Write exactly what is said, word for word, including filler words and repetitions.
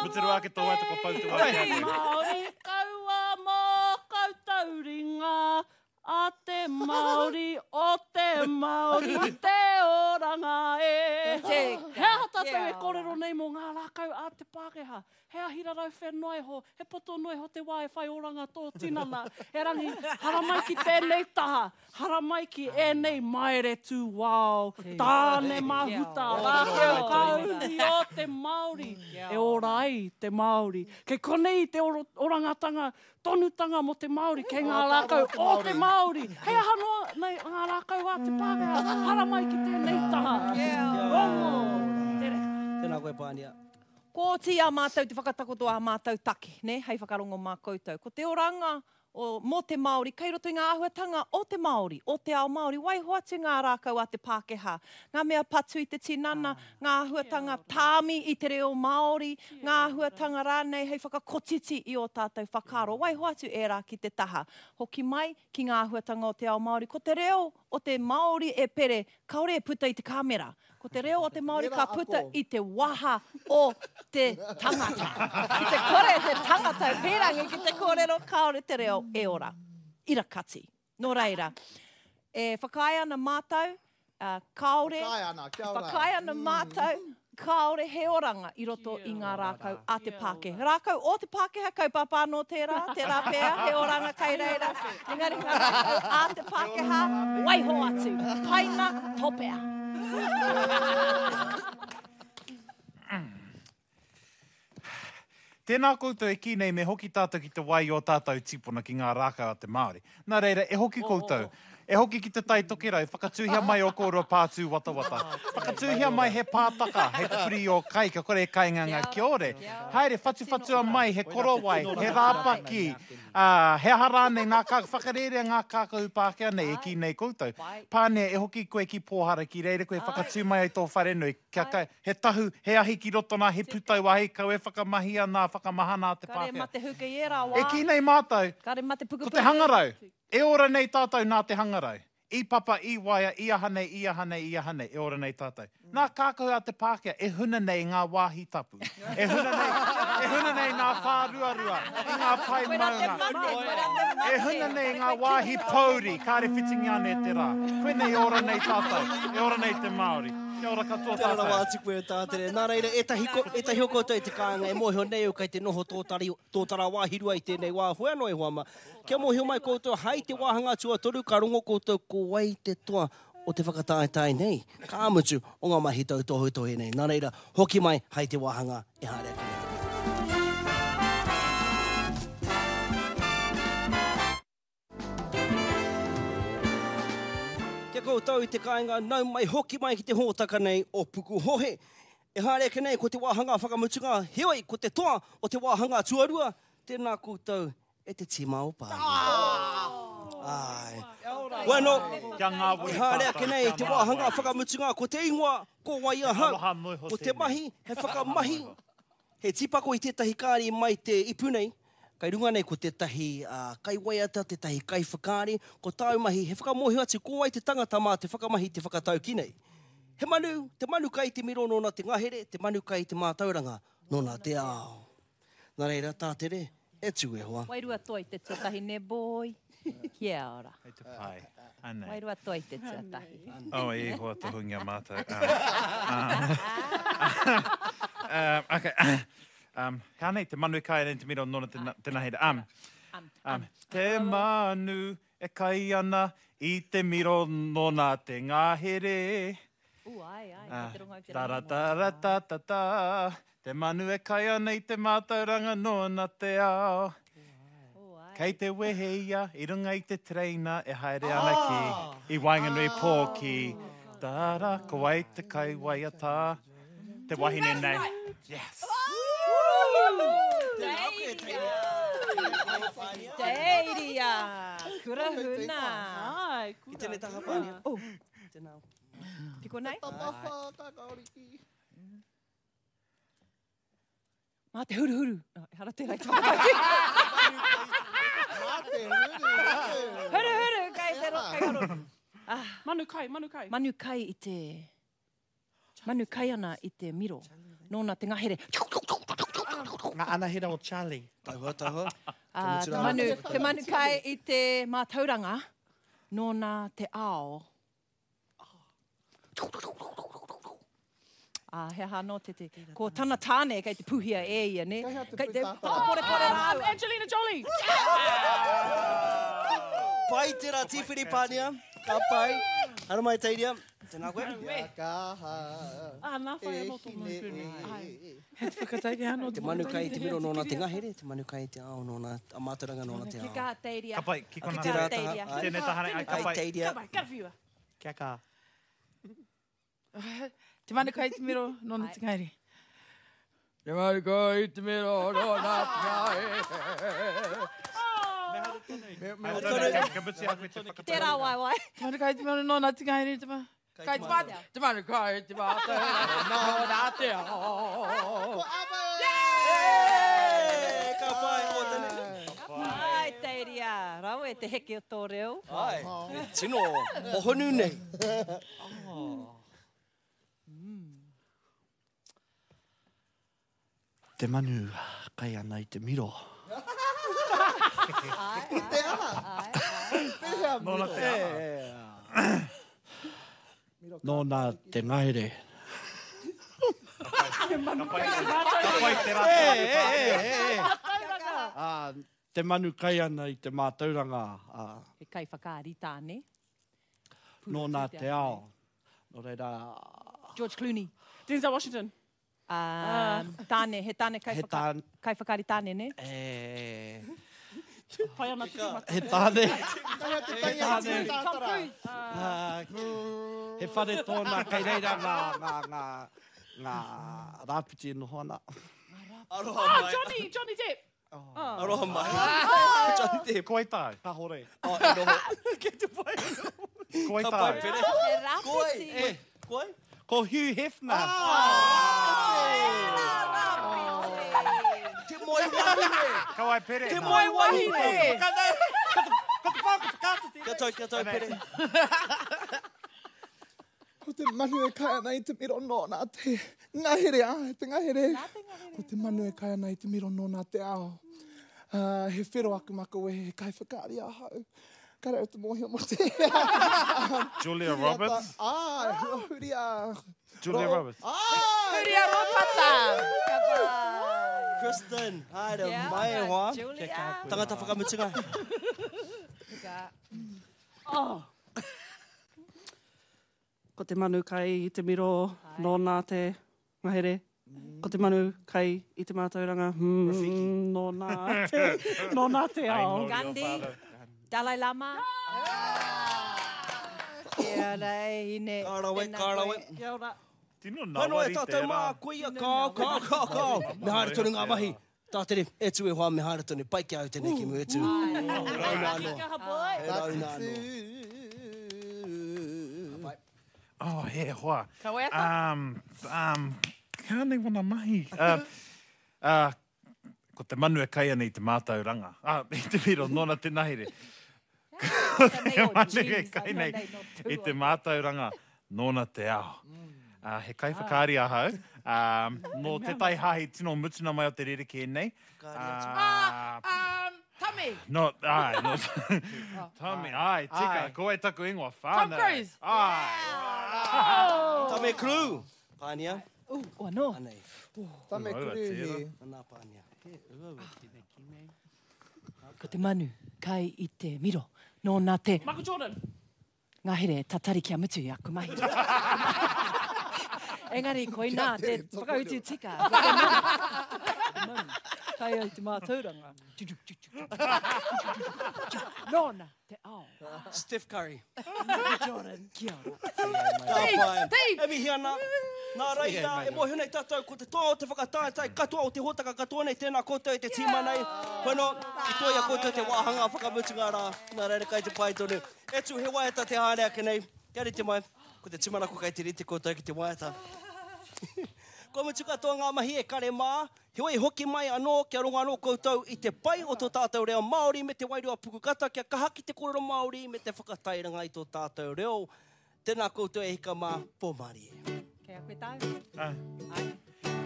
Puturu ake tō waiata kua pau te wā ki a koe. Māori kaua mō koutou ringa, a te Māori o te Māori te oranga e. He aha tātou e kōrero nei mō ngā rākau a te Pākehā? He ahi rarau whenua iho, he poto noa iho te wā e whai oranga tō tinana. Erangi, haramai ki tēnei taha, haramai ki ēnei maere tūwao, tāne mahuta, rākau kauri o te Māori, e ora ai te Māori. Kei konei te orangatanga tonutanga mō te Māori, kei ngā rākau o te Māori. Hei aha noa nei ngā rākau a te Pākehā, haramai ki tēnei taha. Rongo, te reka. Tēnā koe, Pānia. Ko oti a mātou te whakatakoto a mātou take, ne, hei whakarongo mā koutou. Ko te oranga o, mō te Māori, kei roto i ngā āhuatanga o te Māori, o te ao Māori, waiho atu ngā rākau a te Pākehā, ngā mea patu i te tinana, ngā āhuatanga tāmi i te reo Māori, ngā āhuatanga rānei hei whakakotiti i o tātou whakaaro, waiho atu ērā ki te taha. Hoki mai ki ngā āhuatanga o te ao Māori, ko te reo o te Māori e pere, kāore e puta i te kāmera. Ko te reo o te Māori ka puta i te waha o te tangata. Ki te kore te tangata e pērangi ki te kōrero, kāore te reo e ora. Ira kati. Nō reira, e whakaae ana mātou, uh, kāore, Whakaae ana, kia ora. whakaae ana mātou, kāore he oranga i roto i ngā rākau a te Pākehā. Rākau o te Pākehā, kaupapa anō tērā, tērā pea, he oranga kai reira. Engari ngā rākau a te Pākehā, waiho atu. Paina, topea. Tēnā koutou e kī nei me hoki tātou ki te wai o tātou tīpuna ki ngā rākau a te Māori. Nā reira, e hoki koutou. E hoki ki te Tai Tokerau, whakatūhia mai o kōrua pātū watawata. Whakatūhia mai he pātaka, he pupuri o kai, ka kore e kainga ngā kiore. Haere, whatuwhatua mai, he korowai, he rāpaki, uh, he aha rānei ngā kā, whakarērea ngā kākahu Pākehā nei e kī nei koutou. Pānia, e hoki koe ki Pōhara, ki reira koe whakatū mai ai tō wharenui. Kia kai, he tahu, he ahi ki roto nā, he putau ahi, kau e whakamahia nā, whakamahana a te Kare Pākehā. mate huka i ērā wā. E kī nei mātou, Kare mate ko pukupuku. te hangarau. E ora nei tātou nā te hangarau. I papa, i waia, i aha nei, i aha nei, i aha nei, e ora nei tātou. Nā kākahu a te Pākehā, e huna nei ngā wāhi tapu. E huna nei, e huna nei ngā whāruarua, i ngā pae maunga. E huna nei ngā wāhi pouri, kāre whitingi ane te rā. Koe nei e ora nei tātou, e ora nei te Māori. Kia ora katoa Tēnā rawa tātou. atu koe Tātere. Nā reira, ētahi, ko, ētahi o koutou i te kāinga e mōhio nei o kei te noho tōtari, tōtara wāhirua i tēnei wā, hoi anō e hoa mā. Kia mōhio mai koutou, hai te wāhanga tuatoru, ka rongo koutou ko wai te toa o te whakataetae nei. Ka mutu o ngā mahi tautohetohe nei. Nā reira, hoki mai hai te wāhanga e haere ake nei. Kia koutou i te kāinga, nau mai hoki mai ki te hōtaka nei o Pukuhohe. E haere ake nei ko te wāhanga whakamutunga, heoi ko te toa o te wāhanga tuarua, tēnā koutou e te tīma o Pānia. Ai. Bueno, Kia ngāwari e haere ake tātou, nei kia te ngāwari. wāhanga whakamutunga, ko te ingoa, ko wai ahau. Aroha noa iho Ko te tēnei. mahi, he whakamahi, he tīpako i tētahi kāri mai te ipu nei, kai runga nei ko tētahi uh, kaiwaiata, tētahi kaiwhakaari, ko tāu mahi, he whakamōhio atu ko wai te tangata mā te whakamahi te whakatauki nei. He manu, te manu kai te miro nōna te ngahere, te manu kai te mātauranga nōna te ao. Nā reira, Tātere, e tū e hoa. Wairua toi te tuatahi ne boy. Kia ora. Hei te pai. Anei. Wairua toi te tuatahi. Oh, e hoa tohungia mātou. Um, um, okay. Um, hea nei, te manu e kai ana i te miro nōna te, te ngahere. Um, um, te manu e kai ana i te miro nōna te ngahere. U, ai, ai, Ah, kei te rongo au te ta ra rangi ta ra ta ta ta. Te manu e kai ana i te mātauranga nōna te ao. Kei te wehe ia i runga i te tereina e haere ana ki i waenganui pō ki Tara, ko wai te kai waiata, te wahine nei. Yes. Teiria, kura huna. Ai, I kura. tēnei taha Pānia. Oh. Tēnā. Piko nei? Tapawha, kakaoriki. Mā te huruhuru. Oh, ehara tērā i te whakatauki. Mā te huru. Huruhuru, kei te ro, kei ro. Manu kai, manu kai. Manu kai i te... Manu kai ana i te miro. Nōna te ngahere. Ngā anahera o Charlie. Tauhua, tauhua. Uh, te manu, te manu kai i te mātauranga, nōna te ao. Ah, he aha no te te. Ko tana tāne kei te puhia e ia, ne? Kei te whakaporepore rāua. Angelina Jolie! Pai tērā tīwhiri pānia. Ka pai. Hara mai teiria. Tēnā koe. Kia kaha. Ah, nā whai anō tō E hine mau e. He te whakataike anō. Te manu kai te miro nōna te ngahere, te manu kai te ao nōna, a mātauranga nōna te Ki ao. kā teiria. Ka pai, ki Ki kona. tērā Teiria. taha. Tēnei tahane, ai, ka Ai pai. teiria. Ka pai, karawhiua. Kia kaha. Te manu kai te miro nōna te ngahere. Te manu kai te miro nōna te ngahere. Ai, tonu, ka mutu a koe te whakatau. Tērā waiwai. Te manu kai te miro nōna te ngahere. Te manu kai te mā- te manu kai te mātauranga nōna te ao. Ko Ava! Hey, ka pai, o tēnei. Ai, teiria. Rawe te heke o tō reo. Ai, e tino hohonu nei. Te manu kai ana i te miro. Te aha? Pēhea Nōna miro? te aha. Nōna te ngahere. Ka pai, ka pai te rā. E, e, e, e. Ah, te manu kai ana i te mātauranga. Ah, He kai whakaari tāne. nōna te ao. Nō reira, George Clooney. Denzel Washington. Um, tāne, he tāne kai, he whaka, tāne, kai whakaari tāne, ne? e, Pai ana te mata. he tāne. Kei te tangi a tāne. te tātara. Ah, he whare tōna kei reira ngā, ngā, ngā, ngā rāpiti e noho ana. Aroha Ah, mai. Johnny, Johnny Depp. Aroha mai. Johnny Depp. Ko ai tāu? Ka hore. Oh, e noho. Kei te pai anō. Ko ai Ka pai tāu? pere. He Ko ai. rāpiti. Ko ai? Ko Hugh Hefner. Te moe wahine. Ka wai pere. Te moe wahine. Ka te pā, ka whakaata Kia tau, kia tau, pere. Ko te manu e kai ana i te miro nōna te ngahere, ai, te ngahere. Ko te manu e kai ana i te miro nōna te ao. Uh, he whero aku makawe, he kai whakaari ahau. Ka reo te mōhio mo te. Julia Roberts. Ai, Huria. Julia Roberts. Ai! Huria Ropata. Kristen, haere Kia mai e ora, hoa. Julia. Tangata whakamutunga. Oh. Ko te manu kai i te miro nōna te ngahere. Ko te manu kai i te mātauranga mm, nōna te, nōna te ao. Gandhi. Dalai Lama. Kia ora, e hine. Ka rawe, Tēnā ka rawe. koe. Kia ora. Tino Pano e nawari tātou tērā. mā, koia, kao, kao, kao, kao. Me haere tonu ngā mahi. Tātere, e tū e hoa, me haere tonu. Pai ki au tēnei ki mu e tū. Rauna anō. Kaha boy. He rauna anō. Oh, he hoa. Ka waiata? Um, um, kā nei wana mahi? Uh, uh, ko te manu e kai ana i te mātauranga. Ah, i te miro, nōna te nahere. Ko te manu e kai nei i te mātauranga, nōna te ao. Uh, he kai whakaari ahau. Um, nō te tai hahi tino mutuna mai o te rerekē nei. Ah, Uh, um, Tame. No, ai, no. Tommy, ai, tika, Ai. ko ai taku ingoa whānau. Tom Cruise. Ai. Tame Crew. Pānia. Uh, oh, no. Anei. Tame Uaua, Kuruhi. Anā pānia. Ko te manu kai i te miro. Nōna te Michael Jordan. ngahere tatari kia mutu i aku mahi. Engari, koinā te whakautu tika. Ko te manu, te manu, kai ai te mātauranga. Nōna te ao. Steph Curry. Jordan, kia ora. Ka pai. Steve. E mihi ana. Nā reira, e mōhio nei tātou, ko te toa o te whakataetae katoa o te hōtaka katoa nei, tēnā koutou e te tīma nei. Kono, i toia koutou te wāhanga whakamutunga rā. Nā reira kai te pai tonu. E tū, he waiata te haere ake nei. Kia rite mai, ko te tūmanako kai te rite koutou ki te waiata. Kua mutu katoa ngā mahi e kare mā, heoi hoki mai anō kia rongo anō koutou i te pai o tō tātou reo Māori me te wairua pukukata kia kaha ki te kōrero Māori me te whakatairanga i tō tātou reo. Tēnā koutou e hika mā, pō mārie. Kei a koe tāu. Ai. Ai.